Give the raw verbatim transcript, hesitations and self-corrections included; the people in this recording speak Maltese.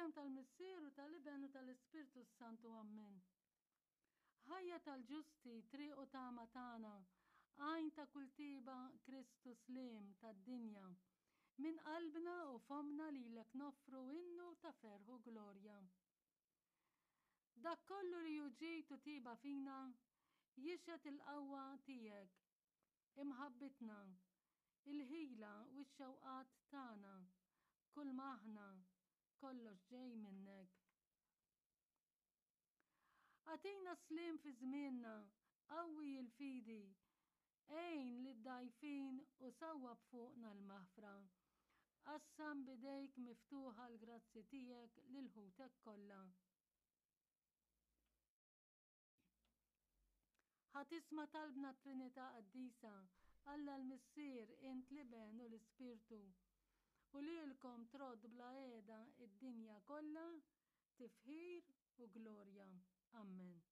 Fl-isem tal-Missier u tal-Iben u tal-Ispirtu s-Santu. Ammen. Ħajja tal-ġusti, triq u tama tagħna, għajn ta' kull tiba, Kristu sliem tad-dinja. Minn qalbna u fomna lilek noffru innu ta' ferħ u glorja. Dak kollu li hu ġid u tiba fina, jixhed il-qawwa tiegħek, imħabbitna, il-ħila u x-xewqat tagħna, kull ma aħna, kollox ġej minnek. Agħtina sliem fi żmienna, qawwi l-fidi, għin lid-dgħajfin u sawwab fuqna l-maħfra. Qassam b'idejk miftuħa l-grazzi tiegħek lil ħutek kollha. Ħa tisma' talbna t-Trinità Qaddisa, Alla l-Missier, int l-Iben u l-Ispirtu. U lilkom trodd bla qiegħda id-dinja kollha tifħir u glorja. Ammen.